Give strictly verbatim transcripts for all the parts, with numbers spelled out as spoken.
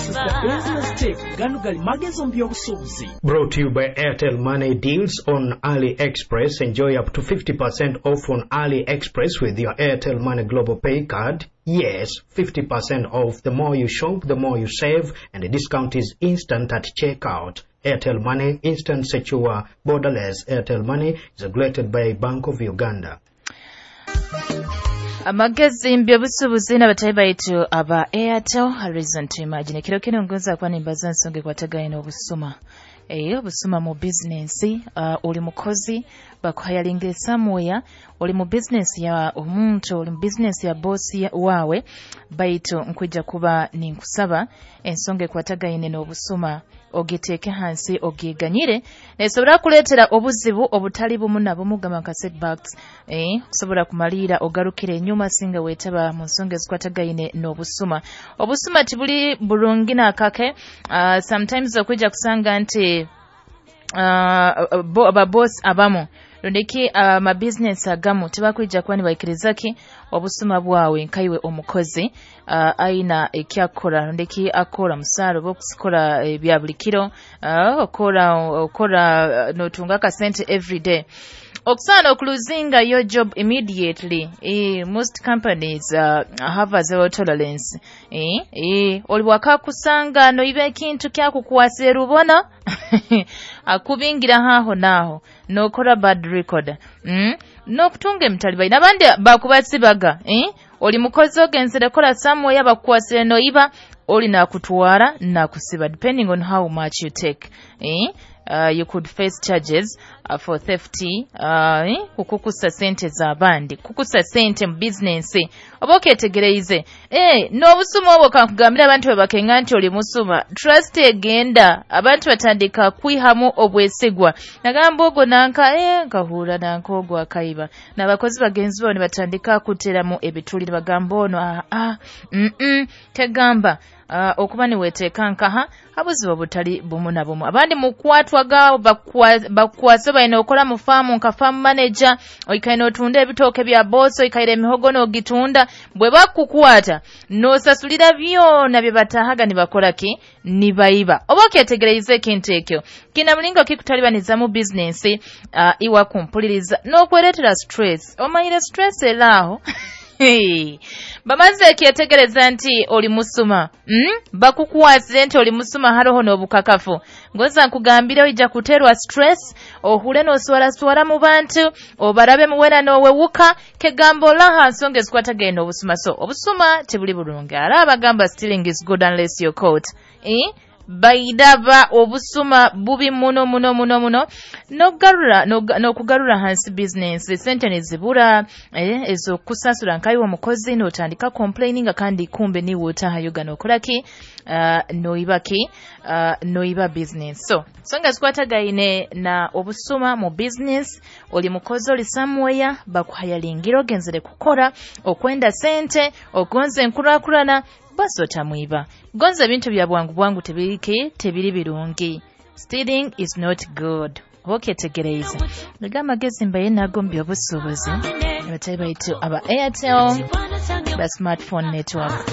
This is the business tip. Gano gali magezi mu by'obusuubuzi. Brought to you by Airtel Money Deals on AliExpress. Enjoy up to fifty percent off on AliExpress with your Airtel Money Global Pay card. Yes, fifty percent off. The more you shop, the more you save, and the discount is instant at checkout. Airtel Money, instant, secure, borderless. Airtel Money is regulated by Bank of Uganda. Amagezi mbyobusuubuzi n'abatayi baitu aba Airtel. Horizon to Imagine. Kiro kino ngonza kuba nimbaza ensonga ekwatagaine n'obusuma, eh obusuma mu bizinensi. uh, oli mukozi, bakuhayalinga somewhere, oli mu bizinensi ya omuntu, oli mu bizinensi ya bosi waawe, baitu nkwija kuba ninkusaba ensonga ekwatagaine n'obusuma ogiteeke hansi, ogiganyire. Nesobora kuleetera obuzibu obutali bumu na bumu, gamba nka setbacks, eh kusobola kumaliira ogarukire enyuma singa weetaba mu nsonga ezikwatagaine n'obusuma. Obusuma tibuli burungi nakake. uh, sometimes okwija kusanga nti uh, bo, ababosi abamu rundiki amabizinesi uh, agamu tibakwija kuba nibaikiriza ki obusuma bwawe nkaiwe omukozi uh, aina ekyakora, rundiki akora musaara oba okusikora ebya buli kiro, uh, okora okora uh, notunga akasente everyday, okusaana okuluzinga your job immediately. eh, most companies uh, have a zero tolerance. eh, eh, oli wakakusanga noiba ekintu kyakukwasira rubona, akubingira haho naho nokora bad record, mm? N'okutunga emitalibaine abandi bakubasibaga, eh? Oli mukozi ogenzere kola somewhere, bakukwasire noiba, oli nakutwara nakusiba, depending on how much you take, eh? uh, you could face charges uh, for theft, uh, eh? Kukukusa sente z'abandi, kukusa sente mu bizinensi oba okyetegereize, eh, n'obusuma obwo kankugambira, abantu bwe bakenga nti oli musuma, trust egenda, abantu batandika kwihamu obwesigwa, nagamba ogwo nanka, eh, nkahura nanka ogwo akaiba, n'abakozi bagenzi bo ne batandika kuteramu ebituli ne bagamba ono ah, ah, mm -mm, kegamba uh, okuba niweteeka nkaha abuzibu obutali bumu na bumu. Abandi mukwatwa gaabo bakukwase balina okola mu faamu nka farm manager, oikaire n'otunda ebitooke bya boosi, oikaire emihogo n'ogitunda, bwe bakukwata n'osasulira byona bye batahaga nibakora ki, nibaiba. Oba okyetegereize ekintu ekyo kina mulingo kikutalibaniza mu bizinensi, uh, iwa kumpuliriza n'okwereetera stress, omanyire stress eraaho. Bamaze ekyetegereza nti oli musuma, mm? Bakukwasire nti oli musuma, haroho n'obukakafu, ngoza nkugambire oija kuterwa stress, ohure n'oswaraswara mu bantu, obarabe muwena n'owewuka, kegamba olaha nsonga ezikwatagenda obusuma. So obusuma tebuli bulungi. Ara abagamba stealing is good unless you're caught, eh? Baidaba obusuma bubi muno muno muno muno, n'okugarura n'okugarura hansi business, sente nezibura, eh, ezokusasura nkayiwe omukozi, n'otandika complaining, kandi kumbe niwe otahayoga n'okola ki, uh, noiba ki, uh, noiba business. So songa zikwatagaine na obusuma mu business. Oli mukozi, oli somewhere, bakuhayalingira ogenzere kukora, okwenda sente, ogonze enkurakurana, basi otamwiba. Gonza ebintu bya bwangu bwangu tebiriki, tebiri birungi. Stealing is not good. Oba okyetegereize naga amagezi mbaye nago mu by'obusuubuzi, abatayi baitu aba Airtel ba smartphone network.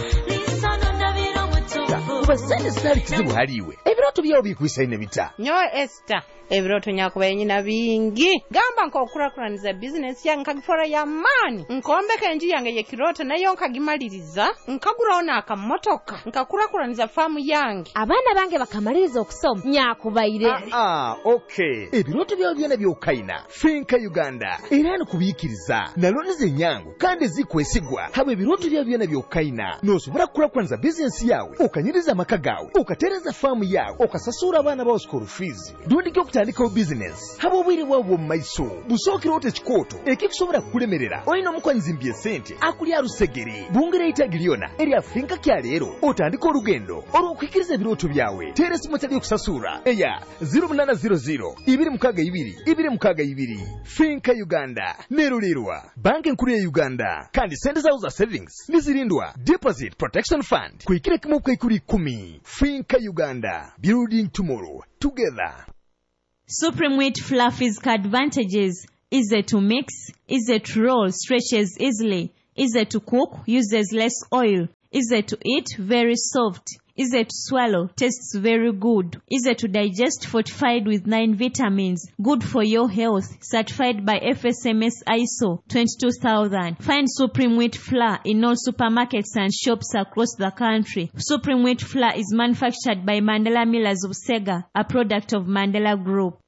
Kuba sente zitali kizibu haliwe, ebirooto byawo bikwisaine bita? Nyowe Esther, ebirooto nyakubaye nyina bingi, gamba nk'okukurakuraniza bizinesi yange nkagifora y'amaani, nkombeka enju yange y'ekirooto nayo nkagimaliriza, nkaguraho n'akamotoka, nkakurakuraniza faamu yange. Abaana bange bakamaliriza okusoma, nyakubaire. Ah, okay, ebirooto byawe byona byokaina, Finca Uganda era nikubiikiriza na looni zenyangu kandi ezikwesigwa. Haba ebirooto byawe byona byokaina, nosobora kukurakuraniza bizinesi yawe, okanyiriza amaka gawe, okatereza faamu yawe, okasasura abaana bawe school fees, rundi okutandikawo bizinesi. Haba obwire bwawe bw'omu maiso busookera ota ekikooto ekikusobola kukulemerera, olina omukwanyizimbya esente akulya rusegere. Bungira eitagi lyona erya Finca kya leero, otandika olugendo olw'okuhikiriza ebirooto byawe. Teera esimu etali okusasura eya zero munaana zero zero ibiri mukaaga ibiri ibiri mukaaga ibiri. Finca Uganda nerulirwa Banka Enkuru ya Uganda, kandi sente zawo za savings nizirindwa Deposit Protection Fund kuhikira kimu okukaikuru ikumi. Finca Uganda, building tomorrow together. Supreme Wheat Fluffy's advantages: easy to mix, easy to roll, stretches easily, easy to cook, uses less oil, easy to eat, very soft. Easy to swallow, tastes very good. Easy to digest, fortified with nine vitamins. Good for your health. Certified by F S M S I S O twenty-two thousand. Find Supreme Wheat Flour in all supermarkets and shops across the country. Supreme Wheat Flour is manufactured by Mandela Millers of Sega, a product of Mandela Group.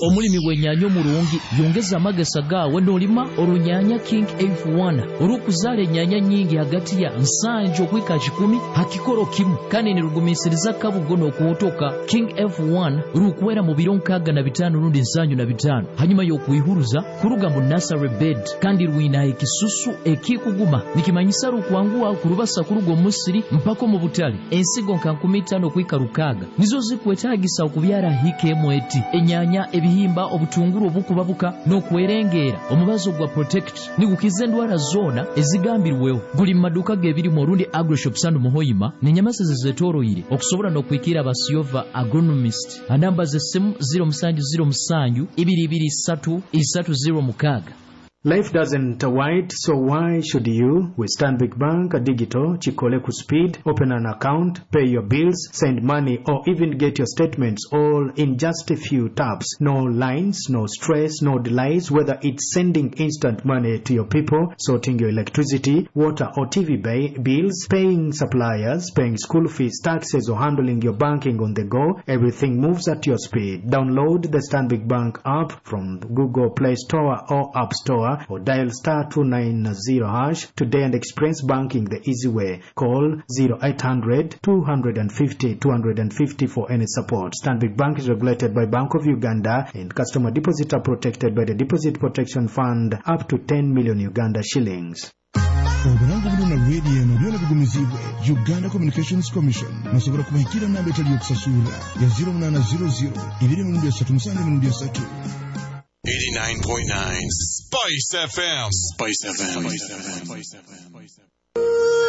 Omulimi w'ennyaanya omulungi yongeza amagesa gaawe n'olima olunyaanya King F one olw'okuzaala ennyaanya nnyingi hagati ya nsanju okwika kikumi ha kikoro kimu kandi nirugumiisiriza kabugo n'okuwotoka. King F one rukwera mu biro nkaaga na bitaano rundi nsanju na bitaano hanyuma y'okwihuruza kuruga mu nursery bed kandi rwina ekisusu ekikuguma nikimanyisa rukwanguwa kurubasa kuruga omusiri mpaka omu butale. Ensigo nka nkumi itaano okwika rukaaga nizo zikwetaagisa okubyara hika emu eti enyaanya, ebihimba, obutunguru obukubabuka n'okwerengeera. Omubazo gwa Protect nigukiza endwara zoona ezigambirweho. Guli mu maduuka g'ebirimu orundi Agroshop Sand Muhoyima n'enyamasa zezeetooroire okusobola n'okwikira abasiyova agronomist. Anamba z'essimu zero musanju zero musanju ibiri ibiri isatu isatu zero mukaaga. Life doesn't wait, so why should you? With Stanbic Bank Digital, Chikole Speed, open an account, pay your bills, send money, or even get your statements all in just a few taps. No lines, no stress, no delays, whether it's sending instant money to your people, sorting your electricity, water or T V bills, paying suppliers, paying school fees, taxes, or handling your banking on the go, everything moves at your speed. Download the Stanbic Bank app from Google Play Store or App Store, or dial star two nine zero hash today and experience banking the easy way. Call zero eight hundred two hundred fifty two hundred fifty for any support. Stanbic Bank is regulated by Bank of Uganda and customer deposits are protected by the Deposit Protection Fund up to ten million Uganda shillings. Obulango buno na radio eno byona bigumizibwe Uganda Communications Commission. Musobola kubahikira namba etali yokusasula ya zero munana zero zero ibiri mirundi esatu musanju mirundi esatu. eighty-nine point nine Spice F M. Spice F M. Spice F M.